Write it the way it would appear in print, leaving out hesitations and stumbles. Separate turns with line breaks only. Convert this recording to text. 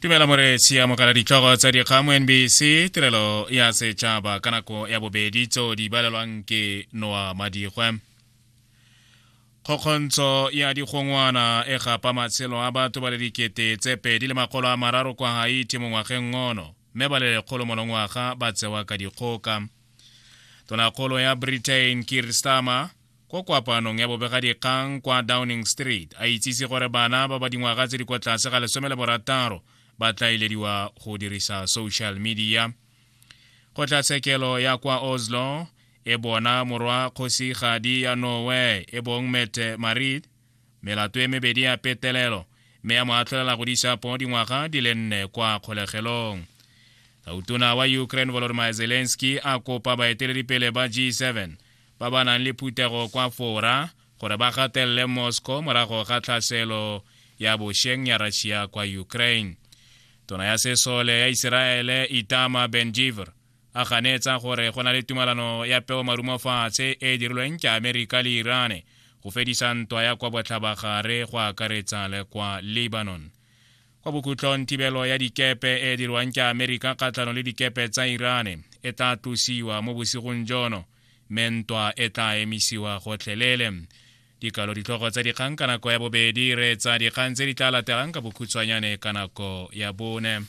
Dumela moreetsi, amogela ditlhogo tsa dikgang mo NBC tirelo ya setšhaba ka nako ya bobedi tseo di balelwang ke Noa Madigwe. Kgokgontsho ya digongwana e gapa matshelo a batho ba le 2300 kwa Haiti mo ngwageng ono, mme ba le 100 monongwaga ba tsewa ka dikgoka. Tonakgolo ya Britain Keir Starmer Ko kopanong ya bobegadikgang kwa Downing Street, a itsise gore bana ba ba dingwaga tse di kwa tlase ga 16 ba tla ilediwa go dirisa social media. Kgotlatshekelo ya kwa Oslo e bona morwa kgosigadi ya Norway e bong Mette Marit melato e mebedi ya petelelo mme ya mo atlholela go di poo dingwaga di le nne kwa kgolegelong. Tautona wa Ukraine Volodymyr Zelensky a kopa baeteledipele ba G7 ba ba nang le phuthego kwa Fora gore ba gatelele Moscow morago ga tlhaselo ya bosheng ya Russia kwa Ukraine. Tona ya sesole ya Iseraele Itamar Ben-Gvir a ganetsa gore go na le tumalano ya peo marumo fatshe e e dirilweng ke Amerika le Iran go fedisa ntwa ya kwa botlhabagare go akaretsa le kwa Lebanon. Kwa bokhutlong, thibelo ya dikepe e e dirwang ke Amerika kgatlhanong le dikepe tsa Iran e tla tlosiwa mo bosigong jono mme ntwa e tla emisiwa gotlhelele. Dikalo ditlhogo tsa dikgang ka nako ya bobedi, reetsa dikgang tse di tla latelang ka bokhutshwanyane ka nako ya bone.